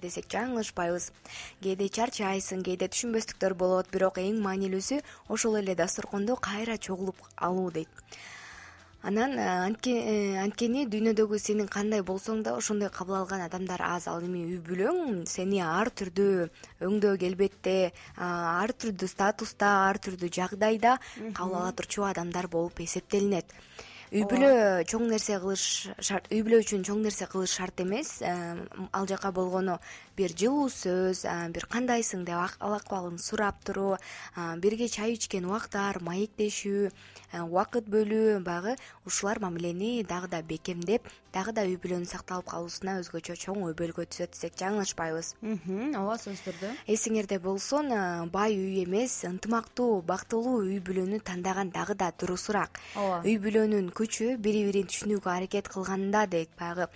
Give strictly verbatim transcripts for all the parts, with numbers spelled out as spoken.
десек жаңылышпайбыз. Кээде чарчайсың, кээде түшүнбөстүктөр болот, бирок эң маанилүүсү ошол эле дасторкондо кайра чогулуп алуу дейт. Анан анткени дүйнөдөгү сенин кандай болсоң да ошондой кабыл алган адамдар аз. Ал эми үй бүлөң сени ар түрдүү өңдөө келбетте, ар түрдүү статуста, ар түрдүү жагдайда кабыл ала турчу адамдар болуп эсептелинет. Үй бүлө чоң нерсе кылыш шарт, үй бүлө үчүн чоң нерсе кылыш шарт эмес. Ал жака болгону бир жылуу сөз, бир кандайсың деп ал акыбалын сурап туруу, бирге чай ичкен убактар, маектешүү, убакыт бөлүү, баягы ушулар мамилени дагы да бекемдеп, дагы да үй бүлөнүн сакталып калуусуна өзгөчө чоң өбөлгө түзөт десек жаңылышпайбыз. Ооба, сөзсүз түрдө. Эсиңерде болсун, бай үй эмес, ынтымактуу, бактылуу үй бүлөнү тандаган дагы да дурусураак. Үй бүлөнүн күчү бири-бирин түшүнүүгө аракет кылганда дейт. Баягы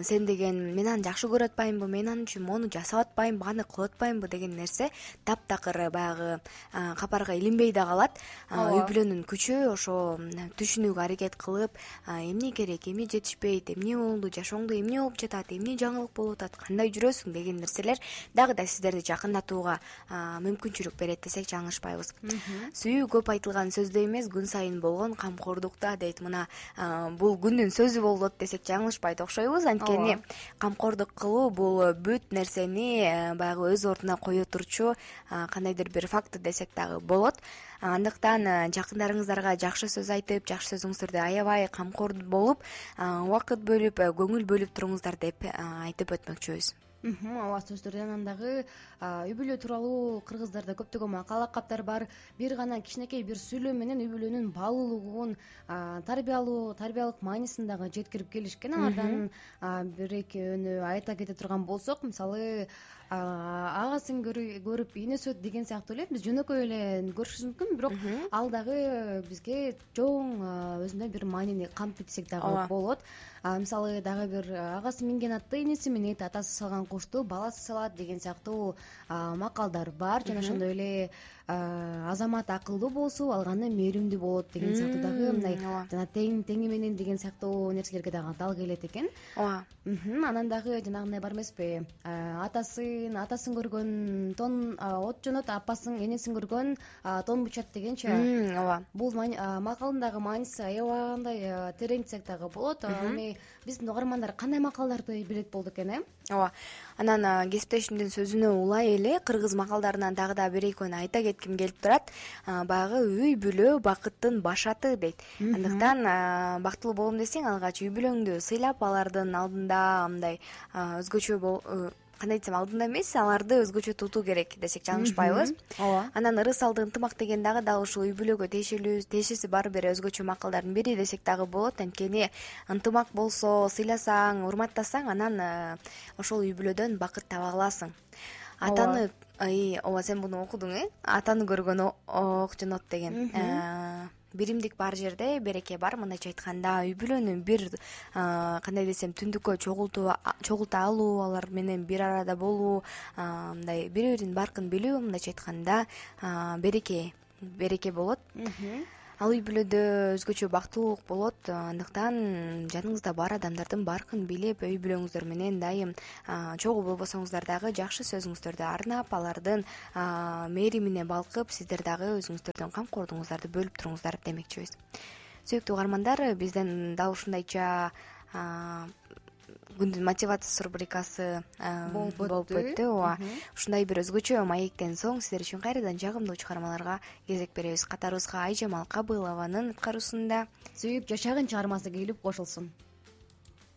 сен деген мен аны жакшы көрүп атпаймынбы, мен аны үчүн мону жасап атпаймынбы, аны кылып атпаймынбы деген нерсе таптакыр баягы капарга илинбей да калат. Үй бүлөнүн күчү ошо түшүнүүгө аракет кылып, эмне керек, эмне жетишпейт, эмне болду, жашооңдо эмне болуп жатат, эмне жаңылык болуп атат, кандай жүрөсүң деген нерселер дагы да сиздерди жакындатууга мүмкүнчүлүк берет десек жаңылышпайбыз. Сүйүү көп айтылган сөздө эмес, күн сайын болгон камкордукта дейт. Мына бул күндүн сөзү болот десек жаңылышпайт окшойбуз. Анткени камкордук кылуу бул бүт нерсени баягы өз ордуна кое турчу кандайдыр бир фактор десек дагы болот. Андыктан жакындарыңыздарга жакшы сөз айтып, жакшы сөзүңүздөрдү аябай камкор болуп, убакыт бөлүп, көңүл бөлүп туруңуздар деп айтып өтмөкчүбүз. Ооба, сөзсүз түрдө. Анан дагы үй бүлө тууралуу кыргыздарда көптөгөн макал лакаптар бар. Бир гана кичинекей бир сүйлөм менен үй бүлөнүн баалуулугун, тарбиялуу, тарбиялык маанисин дагы жеткирип келишкен. Алардан бир экөөнү айта кете турган болсок, мисалы, агасын көрүп ийнеси өт деген сыяктуу эле биз жөнөкөй эле көрүшүбүз мүмкүн, бирок ал дагы бизге чоң өзүндөй бир маанини камтыйт десек дагы болот. Мисалы, дагы бир агасы минген атты энеси минет, атасы салган кушту баласы салат деген сыяктуу макалдар бар. Жана ошондой эле азамат акылдуу болсо, алганы мээримдүү болот деген сыяктуу дагы мындай жана тең теңи менен деген сыяктуу нерселерге дагы дал келет экен. Ооба. Анан дагы жанагындай бар эмеспи? Атасын атасын көргөн тон от жонот, апасын энесин көргөн тон бучат дегенчи. Ооба. Бул макалдын дагы мааниси аябагандай терең десек дагы болот. Эми биздин угармандар кандай макалдарды билет болду экен, э? Ооба. Анан кесиптешимдин сөзүнө улай эле кыргыз макалдарынан дагы да бир экөөнү айта кетким келип турат. Баягы үй бүлө бакыттын башаты дейт. Андыктан бактылуу болом десең, алгач үй бүлөңдү сыйлап, алардын алдында мындай өзгөчө кандай десем, алдында эмес, аларды өзгөчө тутуу керек десек жаңылышпайбыз. Ооба. Анан ырыс алды ынтымак деген дагы дал ушул үй бүлөгө тиешелүү, тиешеси бар бир өзгөчө макалдардын бири десек дагы болот. Анткени ынтымак болсо, сыйласаң, урматтасаң, анан ошол үй бүлөдөн бакыт таба аласың. Атаны, ооба, сен муну окудуң, э? Атаны көргөн ок жонот деген. Биримдик бар жерде береке бар. Мындайча айтканда, үй бүлөнү бир кандай десем, түндүккө чогулта алуу, алар менен бир арада болуу, мындай бири-бирин баркын билүү, мындайча айтканда береке береке болот. Ал үй бүлөдө өзгөчө бактылуулук болот. Андыктан жаныңызда бар адамдардын баркын билип, үй бүлөңүздөр менен дайым чогуу болбосоңуздар дагы жакшы сөзүңүздөрдү арнап, алардын мээримине балкып, сиздер дагы өзүңүздөрдүн камкордугуңуздарды бөлүп туруңуздар демекчибиз. Сүйүктүү угармандар, бизден дал ушундайча күндүн мотивациясы рубрикасы болуп өттү. Ооба. Ушундай бир өзгөчө маектен соң сиздер үчүн кайрадан жагымдуу чыгармаларга кезек беребиз. Катарыбызга Айжамал Кабылованын аткаруусунда Сүйүп жашагын чыгармасы келип кошулсун.